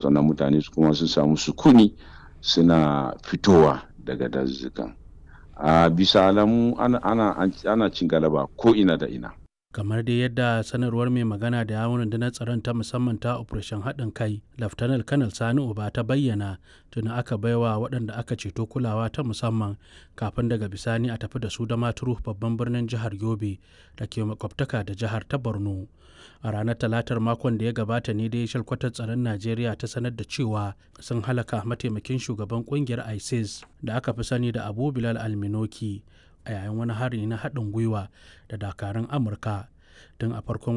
Sannan mutane su kuma sun samu sukuni suna fitowa daga dazuzzukan. A bisa alamu ana cin galaba ko ina da ina. Kamar dai yadda sanarwar mai magana da yawun rundunar tsaron ta musamman ta Operation Haɗin Kai, Laftanar Kanal Sani Uba ta bayyana, tuni aka baiwa waɗanda aka ceto kulawa ta musamman kafin daga bisani a tafi da su Damaturu, babban birnin jihar Yobe da ke makwabtaka da jihar ta Borno. A ranar Talatar makon da ya gabata ne dai shalkwatar tsaron Najeriya ta sanar da cewa sun halaka mataimakin shugaban kungiyar ISIS da aka fi sani da Abu Bilal Alminoki a yayin wani hari na haɗin gwiwa da dakarun Amurka. Tun a farkon